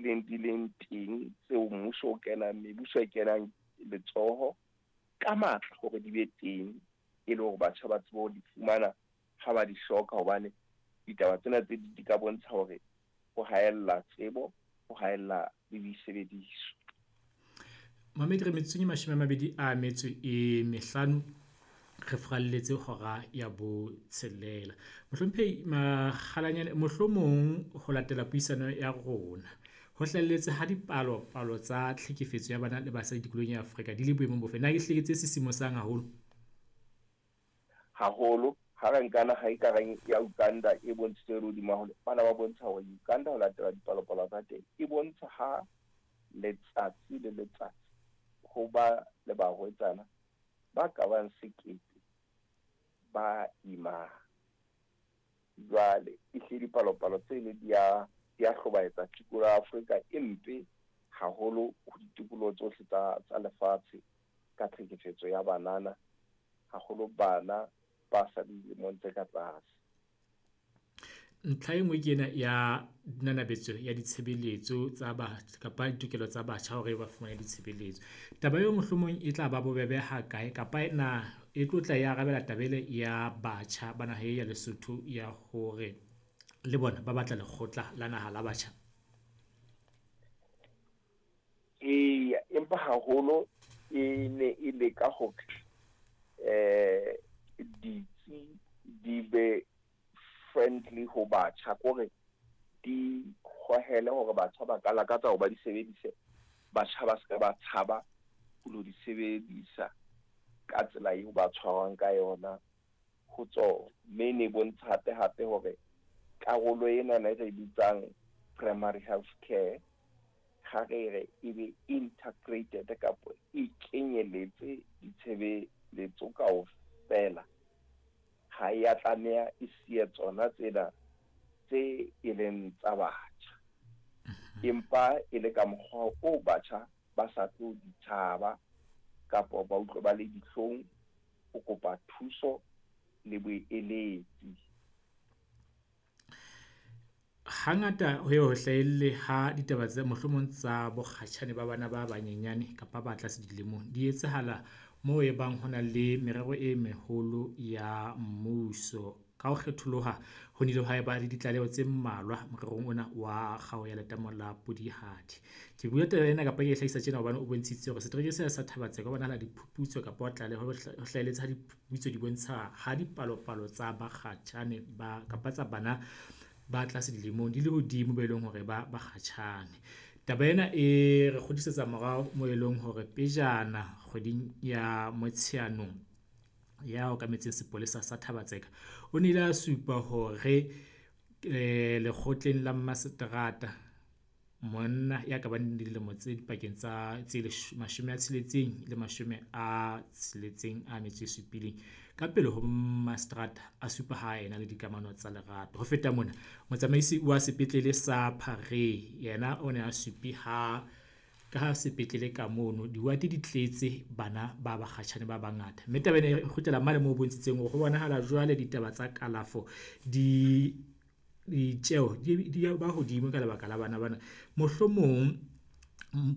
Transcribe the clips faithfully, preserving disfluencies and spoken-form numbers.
hlileng di leng teng tseo mmuso o kenang, mebuso e kenang letsoho ka matla hore di be teng, e le hore batjha ba tsebe ho di fumana ha ba di hloka, hobane ditaba tsena tse di ka bontsha hore ho haella tsebo, ho haella le disebediswa. Mamedi, re metsotsong e mashome a mabedi a metso e mehlano re furalletse hora ya botshelela. Mohlomphehi Makgalanyane, mohlomong ho latela puisano ya rona, ho hlahelletse ha dipalopalo tsa tlhekefetso ya bana le basadi tikolohong ya Afrika di le boemong bo fe? Na ehlile ke tse sisimosang haholo? Haholo. Ha re nka naha e kareng ya Uganda e bontshitse e le hodimo haholo, bana ba bontsha hore Uganda ho latela dipalopalo tsa teng e bontsha ha letsatsi le letsatsi ho ba le barwetsana ba ka bang sekete ba imang. Jwale ehlile dipalopalo tseno di a di a hlobaetsa. Tikoloho ya Afrika e mpe haholo ho ditikoloho tsohle tsa tsa lefatshe ka tlhekefetso ya banana, haholo bana ba sa dilemong tse ka tlase. Ntlha e nngwe ke ena ya nanabetso ya ditshebeletso tsa batjha kapa ditokelo tsa batjha hore ba fumane ditshebeletso. Taba eo mohlomong e tla ba bobebe ha kae kapa na e tlo tla e arabela taba ele ya batjha ba naha e ya Lesotho ya hore le bona ba batla lekgotla la naha la batjha? Eya, empa haholo e ne e leka hore eh ditsi di be friendly ho batjha, kore di hohele hore batjha ba ka lakatsa hore ba di sebedise, batjha ba se ka ba tshaba ho lo di sebedisa ka tsela eo ba tshwarwang ka yona ho tsona. Mme e ne e bontsha hape hape hore karolo enana e re bitsang primary health care, ha re re e be integrated kapa e kenyeletse ditshebeletso kaofela, ha ya tlameha e siye tsona tsena tse e leng tsa batjha, empa e le ka mokgwa o batjha ba sa tlo di tshaba kapa ba utlwe ba le dihlong ho kopa thuso le boeletsi. Hangata ho ye ho hlahelle ha ditaba tse mohlomong tsa bokgatjhane ba bana ba banyenyane kapa ba tlase dilemong di etsahala moo e bang ho na le merero e meholo ya mmuso. Ka ho kgetholoha, ho nnile ha eba le ditlaleho tse mmalwa morerong ona wa kgao ya letamo la Polihali. Ke bua taba ena kapa ke e hlahisa tjena hobane o bontshitse hore setereke sena sa Thaba-Tseka ho bonahala diphuputso kapa wa tlaleho ho hlahelletse ha diphuputso di bontsha ha dipalopalo tsa bakgatjhane ba kapa tsa bana ba tlase dilemong di le hodimo be leng hore ba bakgatjhane. Taba ena e re kgutlisetsa morao moo e leng hore pejana kgweding ya Motsheanong, ya okametseng sepolesa sa Thaba-Tseka, o nnile a supa hore lekgotleng la mmaseterata, monna ya ka bang dilemo tse dipakeng tsa tse mashome a tsheletseng le mashome a tsheletseng a metso e supileng. Ka pele ho mmaseterata a supa ha ena le dikamano tsa lerato. Ho feta mona, motsamaisi wa sepetlele sa Phareng yena o ne a supi ha ka sepetlele ka mono diwate di tletse bana ba bakgatjhane ba bangata. Mme taba ena e kgutlela mane moo bontshitseng hore ho bonahala jwale ditaba tsa kalafo di ditjeho di di ba hodimo ka lebaka la bana bana. Mohlomong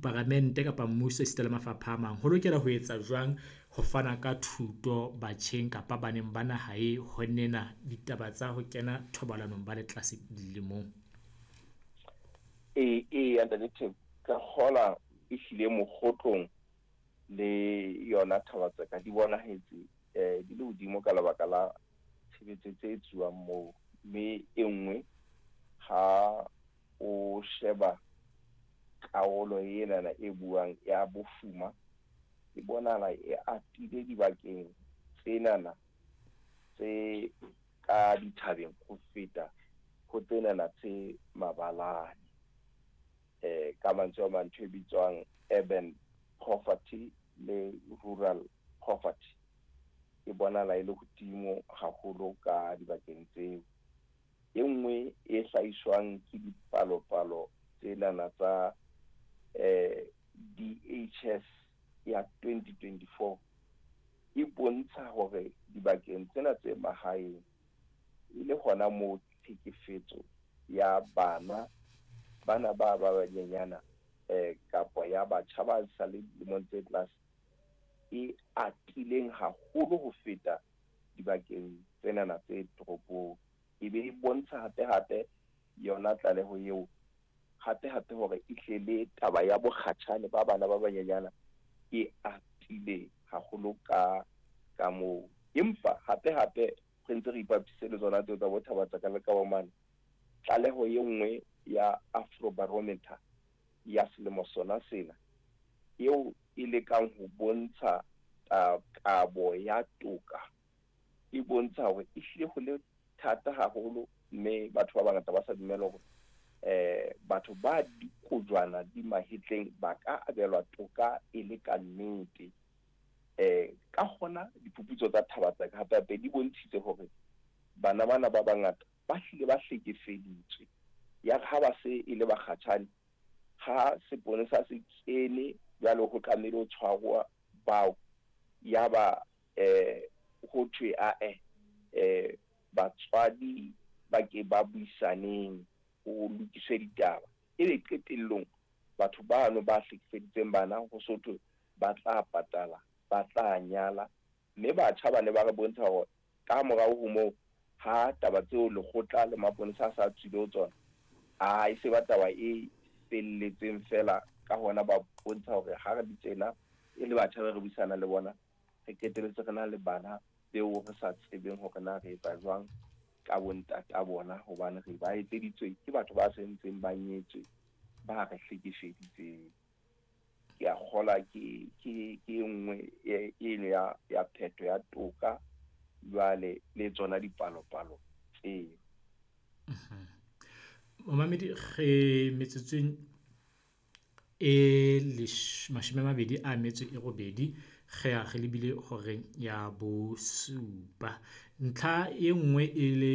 paramente kapa mmuso esita le mafapha a mang, ho lokela ho etsa jwang ho fana ka thuto batjheng kapa baneng ba naha e ho nena ditaba tsa ho kena thobalanong ba le tlase dilemong? Ee, ee, ntate Theko, ka kgola ehlile Mokgotlong le yona Thaba-Tseka di bonahetse eh di le hodimo ka lebaka la tshebetso tse etsuwang moo. Mme e nngwe ha o sheba karolo enana e buang ya bofuma, e bonahala e atile dibakeng tsenana tse ka dithabeng ho feta ho tsenana tse mabalane. Eh ka mantswe a mang, ntho e bitswang urban poverty le rural poverty e bonahala e le hodimo haholo ka dibakeng tseo. E nngwe e hlahiswang ke dipalopalo tsenana tsa eh D H S ya twenty twenty-four e bontsha hore dibakeng tsena tse mahaeng e le hona moo tlhekefetso ya bana bana ba ba banyenyana eh kapa ya batjha ba sa le dilemong tse tlase e atileng haholo ho feta dibakeng tsenana tse toropong. E be e bontsha hape hape yona tlaleho eo hape hape hore e hle le taba ya bokgatjhane ba bana ba banyenyana e atile haholo ka ka moo. Empa hape hape re ntse re ipapise le tsona tseo tsa bo Thabatsaka le ka bomane, tlaleho e nngwe ya Afrobarometer ya selemo sona sena eo e lekang ho bontsha kabo ya toka e bontsha hore e hlile ho le thata haholo, mme batho ba bangata ba sa dumele hore eh batho ba dikojwana di mahetleng ba ka abelwa toka e le ka nnete. Eh ka hona diphuputso tsa Thabatsaka hape hape di bontshitse hore bana bana ba bangata ba hlile ba hlekefeditswe, ya ha ba se e le bakgatjhane ha seponesa se kene jwale ho tlamehile ho tshwarwa bao, ya ba eh ho thwe a eh eh batswadi ba ke ba buisaneng ho lokiswe ditaba, ebe qetellong batho bano ba hlekefeditseng bana ho sotho ba tla patala, ba tla nyala. Mme batjha ba ne ba re bontsha hore ka morao ho moo ha taba tseo lekgotla le maponesa a sa tswile ho tsona, a e se ba taba e felletseng fela. Ka hona ba bontsha hore ha re ditsena e le batjha ba re buisana le bona, re qetelletse re na le bana beo re sa tsebeng hore na re etsa jwang ka bontata bona, hobane re ba etseditswe ke batho ba sentseng ba nyetswe ba re hlekefeditseng. Ke a kgola ke ke ke nngwe eno ya ya phetho ya toka jwale le tsona dipalopalo tseo. Momamedi, re metsotsong e mashome a mabedi a metso e robedi re ya re lebile horeng ya bosupa. Ntlha e nngwe e le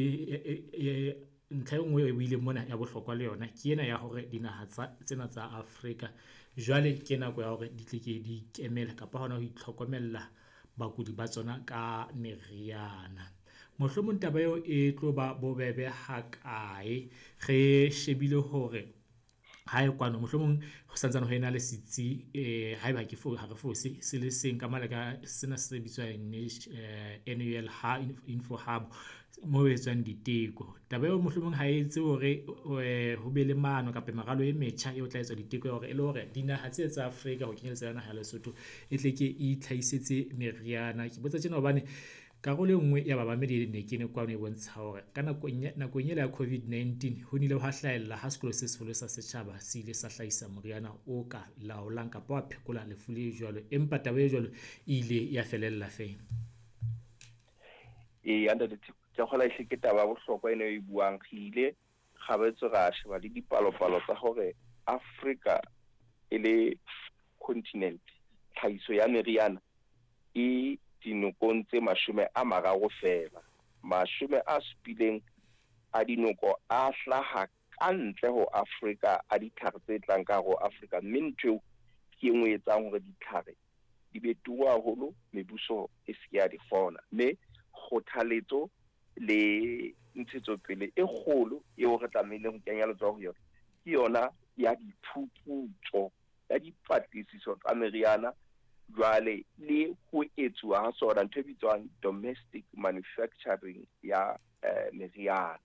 ntlha e nngwe e buileng mona ya bohlokwa le yona ke ena ya hore dinaha tsa tsena tsa Afrika jwale ke nako ya hore di tle ke di ikemele kapa hona ho itlhokomella bakudi ba tsona ka meriana. Mohlomong taba eo e tlo ba bobebe hakae re shebile hore hae kwano mohlomong ho santsane ho ena le setsi eh haeba ke fo ha re fose se le seng ka mane ka sena se bitswang N U L ha Info Hub mo etswang diteko. Taba eo mohlomong ha e etse hore ho be le mano kapa meralo e metjha eo tla etswa diteko ya hore e le hore dinaha tse tsa Afrika ho kenyeletsa le naha ya Lesotho e tle ke e itlhahisetse meriana. Ke botsa tjena hobane karolo e nngwe ya bamamedi ne ke ne kwano e bontsha hore ka nakong nakong ela ya COVID nineteen ho nnile hwa hlahella ha sekolo se seholo sa setjhaba se ile sa hlahisa moriana o ka laolang kapa wa phekola lefu le jwalo, empa taba e jwalo e ile ya felella fela. Ee, ntate Theko, ke kgola ehle ke taba ya bohlokwa ena e buang. Re ile kgabetse ra sheba le dipalopalo tsa hore Afrika e le continent tlhahiso ya meriana e dinokong tse mashome a mararo fela, mashome a supileng a dinoko a hlaha ka ntle ho Afrika a ditlhare tse tlang ka hare ho Afrika, mme ntho eo ke e nngwe e etsang hore ditlhare di be turu haholo, mebuso e se ke ya di kgona. Mme kgothaletso le ntshetsopele e kgolo eo re tlamehileng ho kenya letsoho ho yona ke yona ya diphuputso ya dipatlisiso tsa meriana jwale le ho etsuwa ha sona ntho e bitswang domestic manufacturing ya eh, meriana.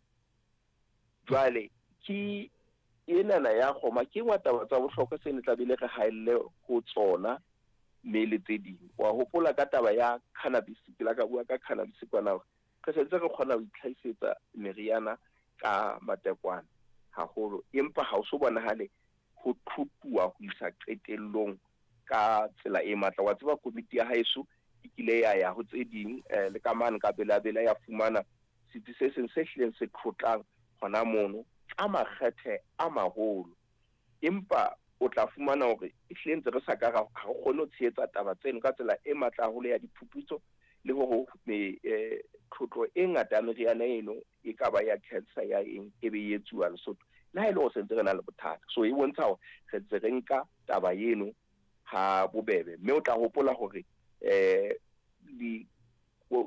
Jwale ke enana ya kgoma ke nngwe taba tsa bohlokwa se ne tlamehile re haelle ho tsona mme le tse ding. Wa hopola ka taba ya cannabis, ke la ka bua ka cannabis kwana hore re sentse re kgona ho itlhahisetsa meriana ka matekwane haholo, empa ha o so bonahale ho thutuwa ho isa qetellong ka tsela e matla. Wa tseba komiti ya haeso e kile ya ya ho tse ding le ka mane ka Bela-Bela ya fumana setsi se seng se hlileng se tlotlang hona mono ka makgethe a maholo, empa o tla fumana hore e hlile ntse re sa ka ra ha re kgone ho tshehetsa taba tseno ka tsela e matla haholo ya diphuputso le hore tlotlo e ngata ya meriana eno e ka ba ya cancer ya eng e be e etsuwa Lesotho, le ha e le hore sentse re na le bothata. So e bontsha hore re ntse re nka taba eno ha bobebe. Mme o tla hopola hore eh di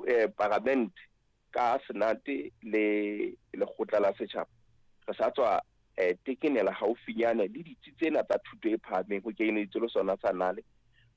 eh parliament ka senate le lekgotla la setjhaba re sa tswa eh tekenela haufinyane le ditsi tsena tsa thuto e phahameng ho kenyelleditswe le sona sa nale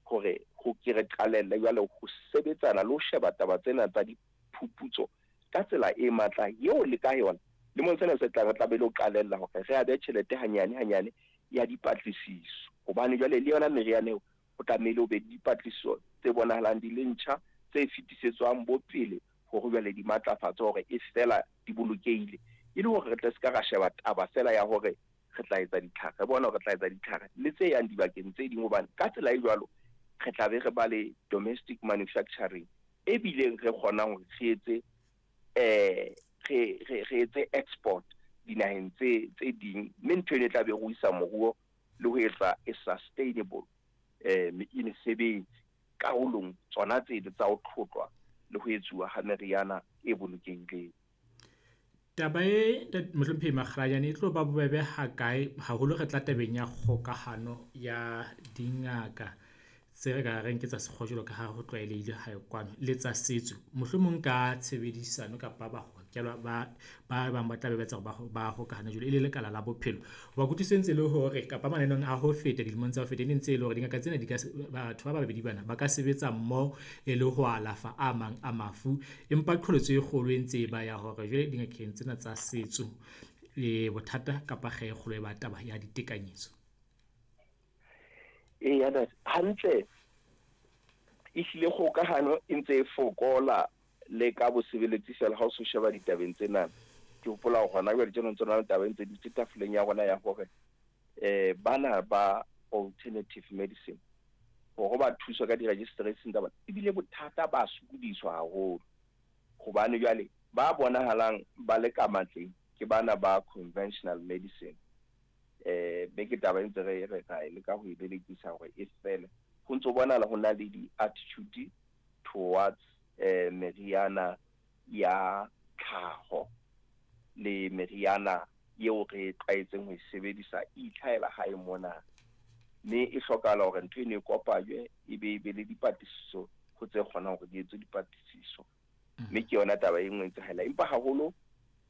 hore ho ke re qalelle jwale ho sebetsana le ho sheba taba tsena tsa diphuputso ka tsela e matla eo le ka yona lemong sena se tlang re tla be le ho qalella hore re abe tjhelete hanyane hanyane ya dipatlisiso hobane jwale le yona meriana eo ho tlamehile ho be dipatlisiso tse bonahalang di le ntjha tse fetisetswang bo pele hore jwale di matlafatse hore e fela di bolokehile e le hore re tle se ka ra sheba taba fela ya hore re tla etsa ditlhare re bona hore re tla etsa ditlhare le tse yang dibakeng tse ding hobane ka tsela e jwalo re tla be re ba le domestic manufacturing e bileng re kgonang hore re etse eh re re re etse export dinaheng tse tse ding mme ntho eno e tla be re isa moruo le ho etsa e sustainable eh mesebetsi karolong tsona tseno tsa ho tlhotlwa le ho etsuwa ha meriana e bolokehileng. Taba e Mohlomphehi Makgalajane e tlo ba bobebe hakae haholo re tla tabeng ya kgokahano ya dingaka tse re ka reng ke tsa sekgowa jwalo ka ha ho tlwaelehile hae kwano le tsa setso, mohlomong ka tshebedisano kapa ba hokelwa ba ba bang ba tla be ba etsa hore ba hokahane jwalo e le lekala la bophelo. Hoba kutlwisiso e ntse e le hore kapa mananeong a ho feta dilemong tsa ho feta e ne ntse e le hore dingaka tsena di ka batho ba babedi bana ba ka sebetsa mmoho e le ho alafa a mang a mafu, empa qholotso e kgolo e ntse e ba ya hore jwale dingakeng tsena tsa setso e bothata kapa kgeo e kgolo e ba taba ya ditekanyetso. Eya hantle ehlile kgokahano e ntse e fokola le ka bosebeletsi fela ha o so sheba ditabeng tsena. Ke hopola hore hona jwale tjena ntse na le taba e ntse dutse tafoleng ya rona ya hore eh bana ba alternative medicine hore ba thuswe ka di-registration tsa bona ebile bothata ba sokodiswa haholo hobane jwale ba bonahalang ba le ka matleng ke bana ba conventional medicine. Eh be ke taba e ntse re re ra e leka ho e belekisa hore e fele ho ntso bonahala ho na le di-attitude towards eh meriana ya tlhaho le meriana eo re tlwaetseng ho e sebedisa e itlhahela hae mona, mme e hlokahala hore ntho eno e kopanywe e be e be le dipatlisiso ho tse kgonang hore di etswe dipatlisiso, mme ke yona taba e nngwe e etsahala. Empa haholo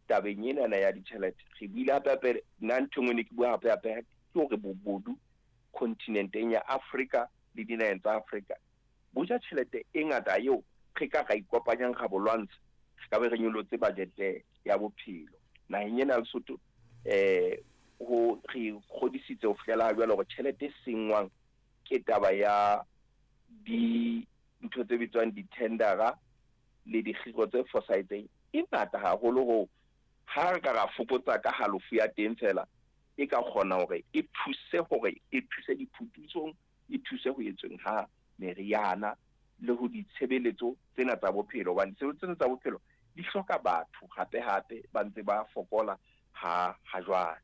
tabeng enana ya ditjhelete re buile hape hape nna ntho e nngwe ne ke bua hape hape ke hore bobodu continenteng ya Afrika le dinaheng tsa Afrika bo ja tjhelete e ngata eo re ka ra ikopanyang ra bo lwantsha re ka be re nyolotse budget ya bophelo naheng ena ya Lesotho. Eh ho re kgodisitse ho fihlela jwale hore tjhelete e senngwang ke taba ya dintho tse bitswang di-tendera le dikgiro tse fosahetseng e ngata haholo ho ha re ka ra fokotsa ka halofo ya teng fela e ka kgona hore e thuse hore e thuse diphuputsong e thuse ho etsweng ha meriana le ho ditshebeletso tsena tsa bophelo hobane ditshebeletso tsena tsa bophelo di hloka batho hape hape ba ntse ba fokola ha ha jwale.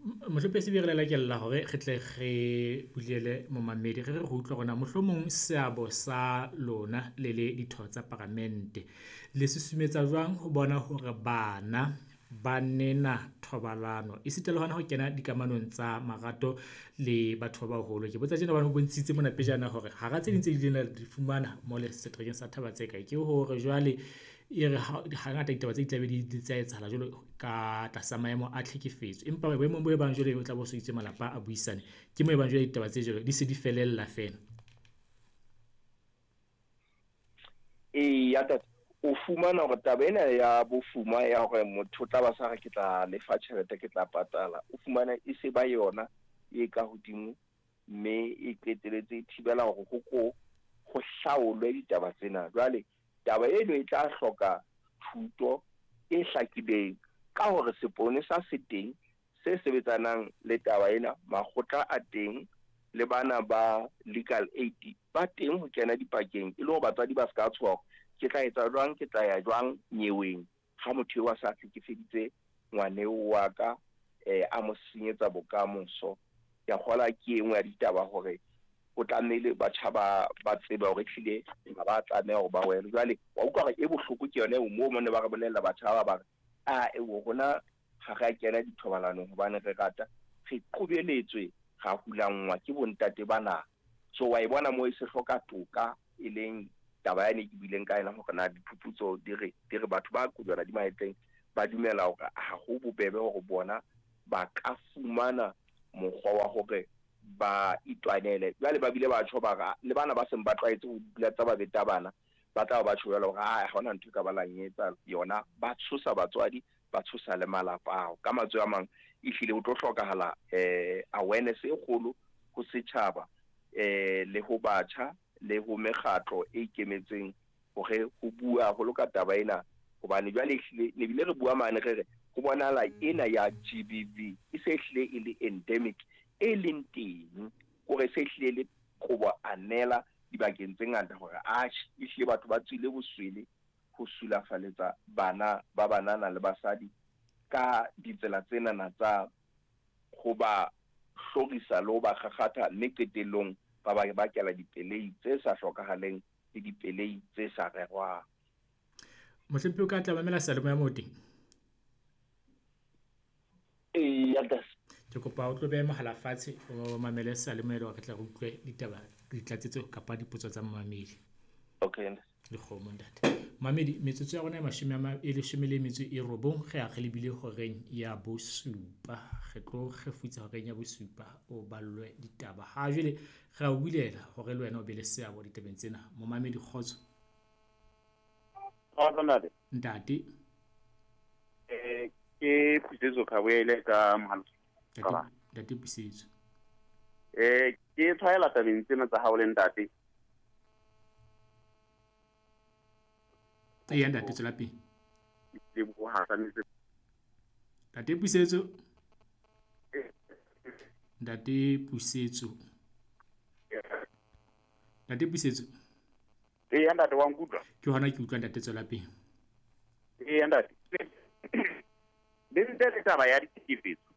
Mohlomphehi Sebiri re lakella hore re tle re bulele momamedi re re re utlwe hore na mohlomong seabo sa lona le le ditho tsa paramente le susumetsa jwang ho bona hore bana ba nena thobalano esita le hona ho kena dikamanong tsa marato le batho ba baholo. Ke botsa tjena hobane ho bontshitse mona pejana hore hara tse ding tse ileng la di fumana mole seterekeng sa Thaba-Tseka ke hore jwale e re hangata ditaba tse di tlabe di tsa etsahala jwalo ka tlasa maemo a tlhekefetso, empa boemong bo e bang jwale o tla bo so itse malapa a buisane ke mo e bang jwale ditaba tse jwalo di se di felella fela. Eya ntate, o fumana hore taba ena ya bofuma ya hore motho o tla ba sa re ke tla lefa tjhelete ke tla patala, o fumana e se ba yona e ka hodimo mme e qeteletse e thibela hore ho ko ho hlaolwe ditaba tsena. Jwale taba eno e tla hloka thuto e hlakileng ka hore seponesa se teng se sebetsanang le taba ena, makgotla a teng le bana ba legal aid ba teng ho kena dipakeng e le hore batswadi ba se ka tshoha ke tla etsa jwang, ke tla ya jwang nyeweng ha motho eo a sa hlekefeditse ngwaneo wa ka eh a mo senyetsa bokamoso. Ke a kgola ke e nngwe ya ditaba hore o tlamehile batjha ba ba tsebe hore ehlile ha ba tlameha hore ba wele. Jwale wa utlwa hore e bohloko ke yona eo moo mo ne ba re bolella batjha ba ba re a eo rona ha re a kena dithobalanong hobane re rata, re qobeletswe ra hulanngwa ke bontate bana. So wa e bona moo e se hloka toka e leng taba yane ke buileng ka yona hore na diphuputso di re di re batho ba kojwana di mahetleng ba dumela hore ha ho bobebe hore bona ba ka fumana mokgwa wa hore ba itwanele. Jwale ba bile ba tjho ba re le bana ba seng ba tlwaetse ho dula tsa ba beta bana ba tla ba tjho jwalo hore ha hona ntho e ka ba lang etsa yona, ba tshosa batswadi, ba tshosa le malapa ao. Ka mantswe a mang ehlile o tlo hlokahala eh awareness e kgolo ho setjhaba eh le ho batjha le ho mekgatlo e ikemetseng hore ho bua haholo ka taba ena, hobane jwale ehlile ne bile re bua mane re re ho bonahala ena ya G B V e se ehlile e le endemic e leng teng, hore se ehlile le qobo anela dibakeng tse ngata hore atjhe ehlile batho ba tswile boswele ho sulafaletsa bana ba banana le basadi ka ditsela tsenana tsa ho ba hlorisa le ho ba kgakgatha, mme qetellong ba ba bakela dipelei tse sa hlokahaleng le dipelei tse sa rerwang. Mohlomphehi o ka tla mamela seyalemoya moo teng? Eya, ntate. Ke kopa o tlo beha mohala fatshe o mamele seyalemoya le hore re tla re utlwe ditaba, ditlatsetso kapa dipotso tsa momamedi. Okay, ntate. Dikgomo ntate. Mamedi, metsotso ya rona e mashome a ma, e leshome le metso e robong, re a re lebile horeng ya bosupa. Re tlo kgefutsa horeng ya bosupa o ballwe ditaba. Ha jwale re a o bulela hore le wena o be le seabo ditabeng tsena. Momamedi, kgotso. Kgotso ntate. Ntate. Eh ke Pusetso Khaboele ka mohala. Ntate, ntate Pusetso. Eh ke tshwaela tabeng tsena tsa hao le ntate. Eya ntate, tswela pele. Ntate Pusetso. Ntate Pusetso. Ntate Pusetso. Eya ntate, wa nkutlwa? Ke hona ke utlwa ntate, tswela pele. Eya ntate. Le ntle le taba ya ditlhekefetso,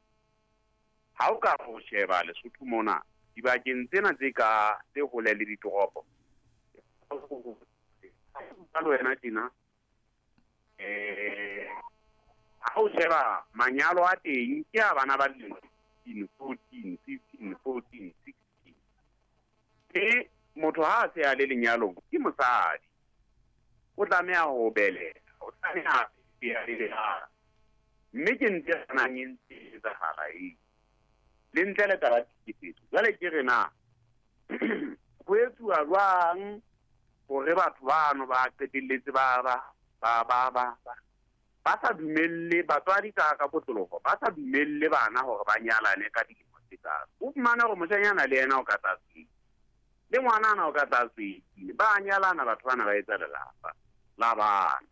ha o ka ho sheba Lesotho mona dibakeng tsena tse ka tse hole le ditoropo, ka le wena tjena eh ha o sheba manyalo a teng ke a bana ba dilemo fourteen, fifteen, fourteen, sixteen. E motho ha a se a le lenyalong ke mosadi, o tlameha ho beleha, o tlameha ho beleha, mme ke ntse e tshwanang e ntse e etsahala eo. Le ntle le taba ya tlhekefetso, jwale ke re na ho etsuwa jwang hore batho bano ba qetelletse ba ba ba ba ba ba sa dumelle batswadi ka ka kotloloho, ba sa dumelle bana hore ba nyalane ka dilemo tse kaalo. O fumane hore moshanyana le yena o ka tlase, le ngwanana o ka tlase, ba nyalana batho bana ba etsa lelapa la bana.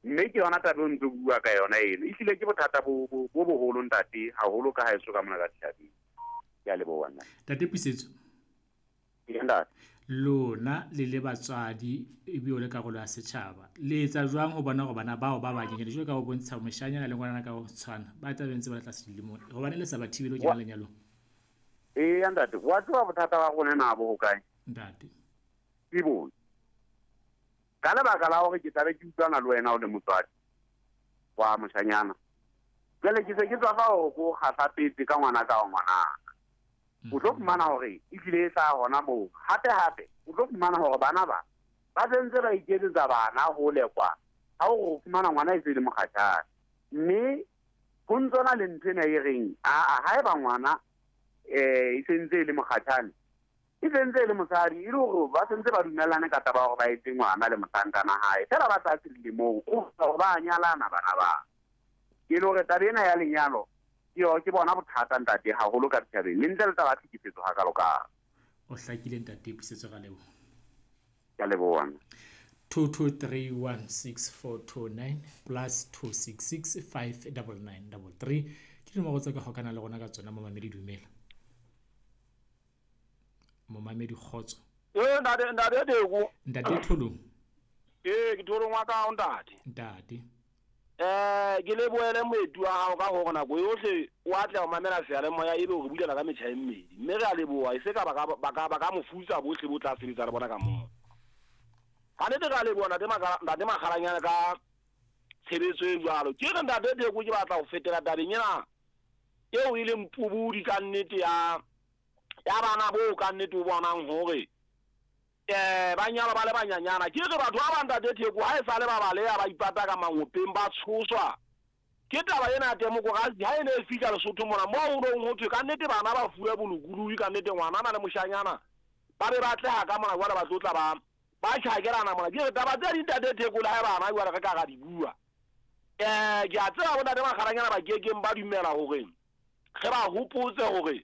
Mme ke yona taba eo ntse bua ka yona eno. Ehlile ke bothata bo bo boholo ntate, haholo ka haeso ka mona ka dithabeng. Ke a leboha nna. Ntate Pusetso. Ee, ntate. Lona le le batswadi ebile o le karolo ya setjhaba, le etsa jwang ho bona hore bana bao ba banyenyane jwalo ka ho bontsha moshanyana le ngwanana ka ho tshwana ba tla be ntse ba le tlase dilemong, hobane le sa ba thibele ho kena lenyalong? Eya ntate, wa tseba bothata ba rona na bo hokae? Ntate. Ke bone. Ka lebaka la hore ke tlabe ke utlwana le wena o le motswadi wa moshanyana, jwale ke se ke tswa fa hore ko kgahlapetse ka ngwana ka wa ngwanaka. O tlo fumana hore ehlile e hlaha hona moo. Hape hape o tlo fumana hore bana ba ba sentse ba iketsetsa bana hole kwa, ha o fumana ngwana e se le mokgatjhane. Mme ho ntsona le ntho ena e reng aa haeba ngwana eh e sentse e le mokgatjhane, e sentse e le mosadi, e le hore ba sentse ba dumellane ka taba ya hore ba etse ngwana le mohlankana hae, fela ba tlase dilemong, o hore ba nyalana bana ba. Ke le hore taba ena ya lenyalo ke yo ke bona bothata ntate haholo ka dithabeng, le ntle le taba ya tlhekefetso hakalo-kalo. O hlakile ntate Pusetso, ra leboha. Ke a leboha. two two three one six four two nine plus two six six five nine nine three three ke dinomoro tse ka hokana le rona ka tsona. Momamedi, dumela. Momamedi, kgotso. Eh ntate, ntate Teko. Ntate Tholong. Eh ke Tholong wa ka ntate. Ntate. Eh ke lebohele moeti wa hao ka hore nako yohle o atleha ho mamela seyalemoya ebe o re bulela ka metjha e mmedi. Mme re a leboha, e se ka ba ka ba ka ba ka mofutsa bohle bo tla sebetsa le bona ka moo. Ha nete re a leboha ntate Makala, ntate Makgalanyane ka tshebetso e jwalo. Ke re ntate Teko ke batla ho fetela tabeng ena eo e leng pubudi ka nnete ya ya bana bo ka nnete o bonang hore eh ba nyalwa ba le banyanyana. Ke re batho ba bang ntate Teko ha e sale ba baleha ba ipata ka mangopeng ba tshoswa Ke taba ena ya demokrasi ha e ne e fihla Lesotho mona moo ho nong ho thwe ka nnete bana ba fuwe bolokolohi, ka nnete ngwanana le moshanyana ba be ba tleha ka mona jwale ba tlo tla ba ba tjhakelana mona. Ke re taba tse ding ntate Theko le ha bana jwale re ka ra di bua. Eh ke a tseba bontate Makgalanyana ba kekeng ba dumela hore re ba hopotse hore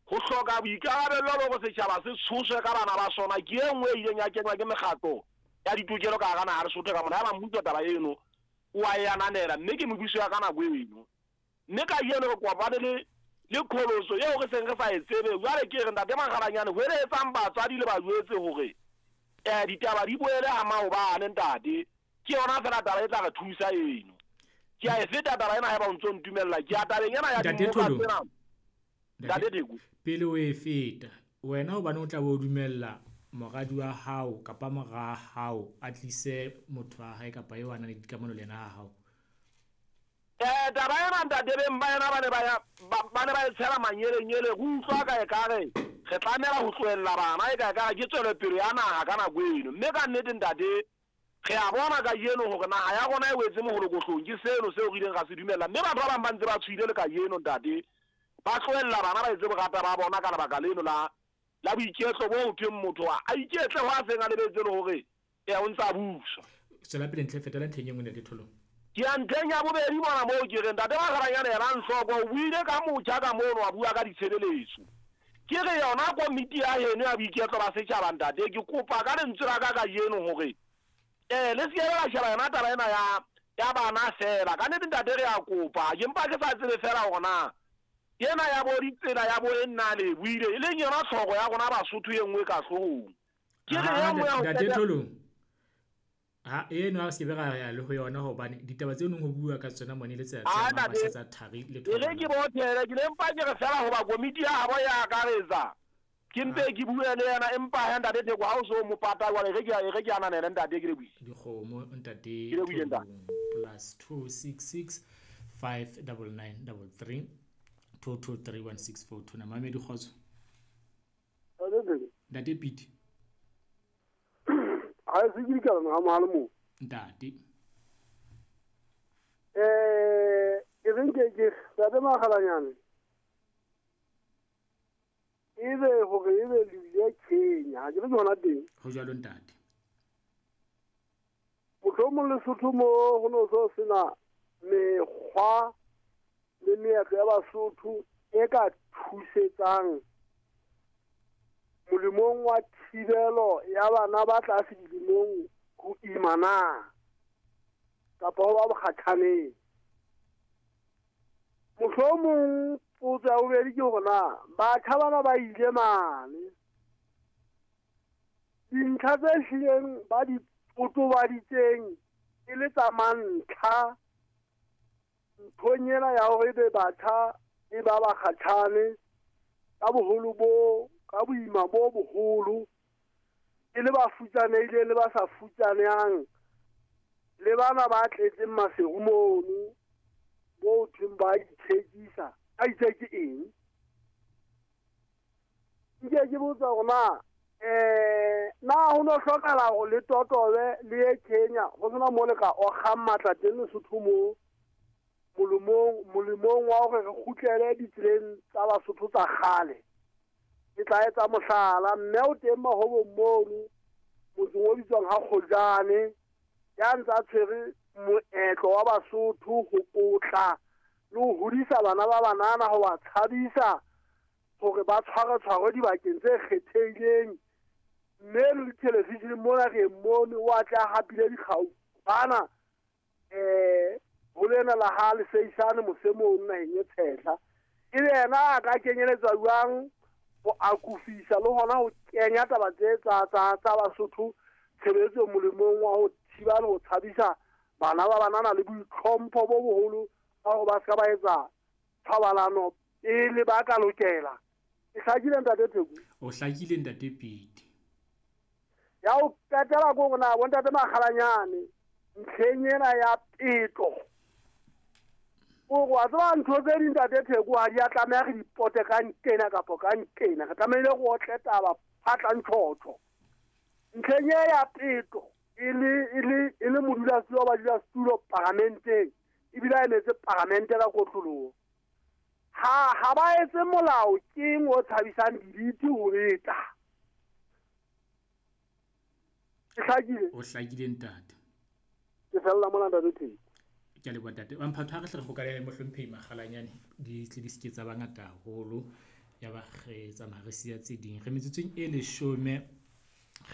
ho hloka boikarabelo le hore setjhaba se tshoswe ka bana ba sona ke e nngwe e ileng ya kenywa ke mekgatlo ya ditokelo ka hara naha Lesotho ka mona. Ya ba mmuso taba eno o a e ananela, mme ke mebuso ya ka nako eno. Mme kajeno re kopane le le qholotso eo re seng re sa e tsebe. Jwale ke re ntate Makgalanyane ho eletsang batswadi le bajwetse hore eh ditaba di boele ha maobane ntate. Ke yona fela taba e tla re thusa eno. Ke a e feta taba ena haeba o ntso ntumella. Ke a tabeng ena ya dimoka tsena. Ntate Theko, pele o e feta wena hobane o tla bo dumella moradi wa hao kapa mora hao a tlise motho wa hae kapa eo a nang le dikamano le yena ha hao. Eh taba ena ntate beng ba yena ba ne ba ya ba ne ba e tshela manyelenyele. Re utlwa ka ekare re tlamela ho tlohella bana e ka ekare ke tswelopele ya naha ka nako eno. Mme ka nnete ntate re a bona kajeno hore naha ya rona e wetse moholokohlong. Ke seno seo re ileng ra se dumella, mme batho ba bang ba ntse ba tshohile le kajeno ntate, ba tlohella bana ba etse borata ba bona ka lebaka leno la la boiketlo bo ho thweng motho a iketle ho a seng a lebetse le hore e o ntsa busa. Tswela pele ntle, fetela ntlheng e nngwe ntate Tholong. Ke ya ntlheng ya bobedi mona moo ke reng ntate Makgalanyane yena nhloko o buile ka motjha ka mono, a bua ka ditshebeletso. Ke re yona komiti ya heno ya boiketlo ba setjhaba ntate, ke kopa ka lentswe la ka kajeno hore eh le se ke la sheba yona taba ena ya ya bana fela. Ka nnete ntate re a kopa, ke mpa ke sa tsebe fela hore na ena ya bo ditsela ya bo e nna le buile e leng yona tlhoko ya rona Basotho e nngwe ka hloohong. Ke re ya nngwe ya ntate Tholong ha eno a se be ra ya le ho yona hobane ditaba tseo neng ho bua ka tsona mone le tsela tsa tsa thari le Tholong. E re ke bothele ke le mpa ke re fela hoba komiti ya habo ya akaretsa ke mpe ke bue le yena, empa ha ntate Theko ha o so mo pata jwale re ke re ke ananele ntate ke le buile dikgomo ntate Tholong plus two six six five nine nine three three two two three one six four two. Na mamedi kgotso. Ntate Piti. Ha se ke dikala ha mohale mo. Ntate. Eh e reng ke ke ntate Makgalanyane. Ebe hore ebe le ile Kenya, ha ke re hona teng. Ho jwalo ntate. Mohlomong Lesotho mo ho no so sena mekgwa le meetlo ya Basotho e ka thusetsang molemong wa thibelo ya bana ba tlase dilemong ho ima na kapa ho ba bokgathaneng. Mohlomong potso ya bobedi ke hore na batjha bana ba ile mane dintlha tse hlileng ba di totobaditseng e le tsa mantlha nthong ena ya hore ebe batjha e ba bakgatjhane ka boholo bo ka boima bo boholo e le ba futsanehileng le ba sa futsanehang le bana ba tletseng maseru mono bo thweng ba ithekisa a itse ke eng. Nke ke botsa hore na eh na ho no hlokahala hore le totobe le ye Kenya ho sena mo le ka okgang matla teng Lesotho mo molemong molemong wa hore re kgutlele ditseleng tsa Basotho tsa kgale. Ke tla etsa mohlala, mme o teng mahobong mono motseng o bitswang ha Kgojane ya ntsa tshwere moetlo wa Basotho ho potla le ho hodisa bana ba banana ho ba tshabisa hore ba tshware tshware dibakeng tse kgethehileng. Mme le television mona re mmone o a tla hapile dikgau bana eh ho lena la ha le seisane mosemong naheng e tshehla. E be yena a ka kenyeletswa jwang ho akofisa le hona ho kenya taba tse tsa tsa tsa Basotho tshebetsong molemong wa ho thiba le ho tshabisa bana ba banana le boitlhompho bo boholo ba hore ba ska ba etsa thobalano pele ba ka lokela. E hlakile ntate Theko? O hlakile ntate Piti. Ya o qetela ko rona bo ntate Makgalanyane ntlheng ena ya peto. O wa tseba ntho tse ding ntate Theko ha di a tlameha re di pote ka nkena kapa ka nkena. Re tlamehile go otle taba phatla ntshotho. Ntlheng e ya peto e le e le e le modulasetulo wa badulasetulo paramenteng. Ebile a emetse paramente ka kotloloho. Ha ha ba etse molao keng o tshabisang dibiti ho beta. Ke hlakile. O hlakile ntate. Ke fella mona ntate Theko. Ke a leboha ntate. Wa mphatho ha re hle re hokane le mohlomphehi Makgalanyane di tle di se ke tsa ba ngata haholo. Ya ba re tsamaya re siya tse ding. Re metsotsong e leshome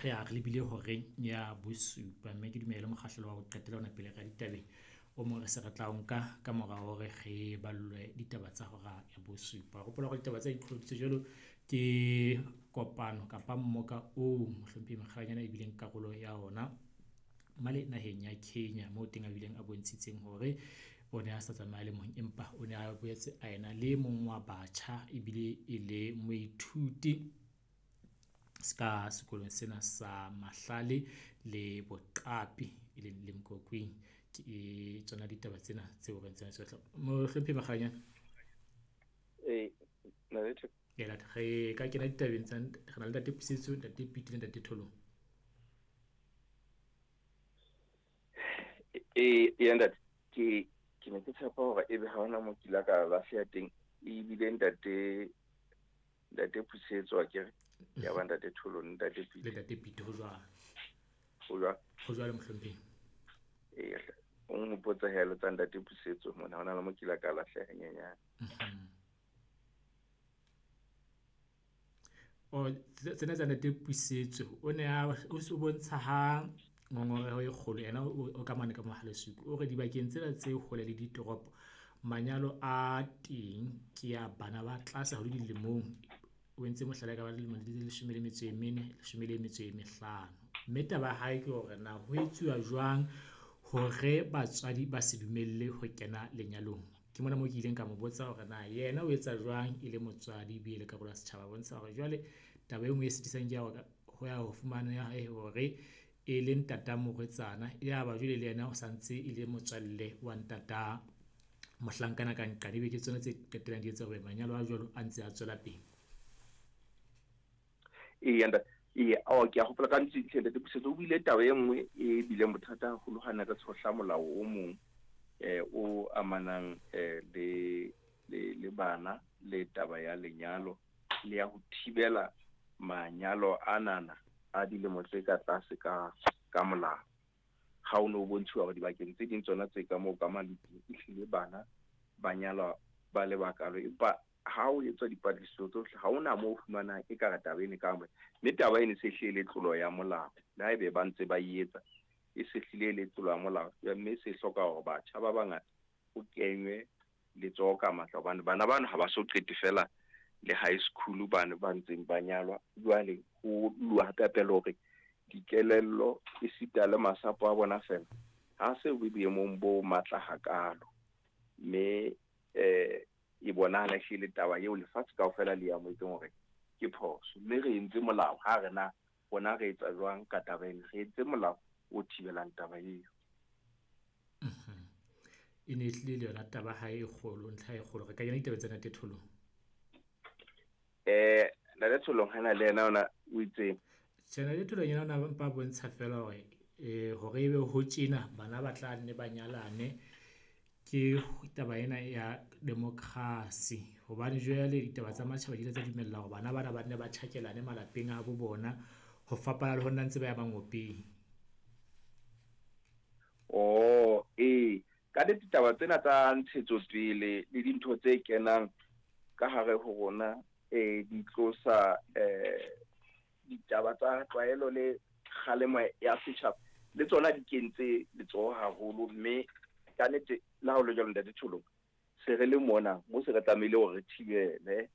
re a re lebile horeng ya bosupa, mme ke dumele mokgahlelo wa ho qetela ona pele re ya ditabeng. O mong re se re tla o nka ka mora hore re ballwe ditaba tsa hora ya bosupa. Hopola hore ditaba tsa iqholoditse jwalo ke kopano kapa mmoka oo mohlomphehi Makgalanyane e bileng karolo ya ona male naheng ya Kenya, moo teng a bileng a bontshitseng hore o ne a sa tsamaya le mong, empa o ne a boetse a ena le mong wa batjha ebile e le moithuti ska sekolong sena sa Mahlale le Boqapi e leng Limkokwing. Ke tsona ditaba tsena tseo re ntseng re tla mohlomphehi Makgalanyane. Eh na le Theko. Ke la re ka kena ditabeng tsa re na le ntate Pusetso, ntate Piti le ntate Tholong. Eh eh ntate ke ke ne ke tshepa hore ebe ha hona mo kila ka lahleha teng, ebile ntate ntate Pusetso akere ya ba ntate Tholong, ntate Piti le ntate Piti ho jwalo. Ho jwalo. Ho jwalo mohlomphehi. Eh o nghopotsa helo tsa ntate Pusetso mona hona le mo kila ka lahleha nyenyane. O tsena tsa ntate Pusetso o ne a o se bontsha ha ngongoreho e kgolo yena o ka mane ka Mohalesuku o re dibakeng tsena tse hole le ditoropo manyalo a teng ke ya bana ba tlase haholo dilemong. O entse mohlala ka ba dilemo di leshome le metso e mene, leshome le metso e mehlano. Mme taba ya hae ke hore na ho etsuwa jwang hore batswadi ba se dumelle ho kena lenyalong. Ke mona moo ke ileng ka mo botsa hore na yena o etsa jwang e le motswadi ebile le karolo ya setjhaba. Bontsha hore jwale taba e nngwe e sitisang ke ya hore ho ya ho fumana ya hae hore e le ntata morwetsana ya ba jwale le yena o santse e le motswalle wa ntata mohlankana ka nqane, ebe ke tsona tse qetellang di etsa hore manyalo a jwalo a ntse a tswela pele. Ee ntate, ee ao ke a hopola ka ntse ntate Pusetso o buile taba e nngwe e bileng bothata haholo ha ne re tshohla molao o mong eh o amanang eh le le le bana le taba ya lenyalo le ya ho thibela manyalo anana a dilemo tse ka tlase ka ka molao. Ha o no bontshiwa hore dibakeng tse ding tsona tse ka moo ka Maluti ehlile bana ba nyalwa ba le bakalo, empa ha o etswa dipatlisiso tsohle ha ona moo o fumanang e ka re taba ene ka moo, mme taba ene se hlile tlolo ya molao. Le haebe ba ntse ba e etsa e se hlile le tlolo ya molao, mme se hloka hore batjha ba bangata ho kenywe letsoho ka matla, hobane bana bano ha ba so qete fela le high school bana ba ntseng ba nyalwa. Jwale ho lwa hape le hore dikelello esita le masapo a bona fela ha se bo boemong bo matla hakalo, mme eh e bonahala ehlile taba eo lefatshe kaofela le amohetseng hore ke phoso. Mme re entse molao ha re na rona re etsa jwang ka taba ena, re entse molao o thibelang taba eo. E ne ehlile le yona taba ha e kgolo, ntlha e kgolo. Re ka kena ditaba tsa ntate Tholong. Eh ntate Tholong hana le yena ona o itseng? Tjhe, ntate Tholong yena o na mpa bontsha fela hore eh hore ebe ho tjena bana ba tla nne ba nyalane ke taba ena ya democracy, hobane jwale ditaba tsa matjhaba di ile tsa dumella hore bana bana ba nne ba tjhakelane malapeng a bo bona ho fapana le ho nna ntse ba ya mangopeng. Oh eh ka ditaba tsena tsa ntshetsopele le dintho tse kenang ka hare ho rona eh di tlosa eh ditaba tsa tlwaelo le kgalemo ya setjhaba le tsona di kentse letsoho haholo, mme ka nnete le ha ho le jwalo ntate Tholong se re le mona mo se re tlamehile hore re thibele,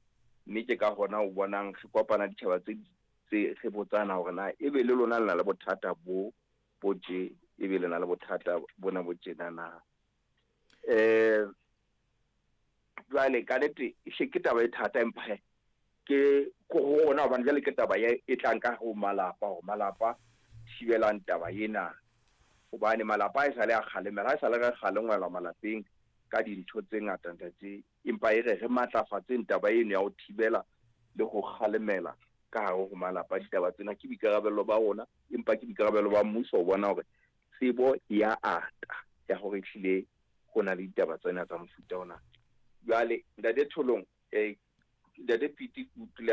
mme ke ka hona o bonang re kopana ditjhaba tse tse re botsana hore na ebe le lona le na le bothata bo bo tje, ebe le na le bothata bona bo tjena na. Eh jwale ka nnete ehle ke taba e thata, empa he ke ko rona hobane jwale ke taba e tlang ka ho malapa, hore malapa thibelang taba ena, hobane malapa a e sale a kgalemela, ha e sale re kgalengwelwa malapeng ka dintho tse ngata ntate, empa e re re matlafatseng taba eno ya ho thibela le ho kgalemela ka hare ho malapa. Ditaba tsena ke boikarabelo ba rona, empa ke boikarabelo ba mmuso ho bona hore tsebo ya ata ya hore ehlile Ho na le ditaba tsena tsa mofuta ona. Jwale ntate Tholong, eh ntate Piti, ke utlwile a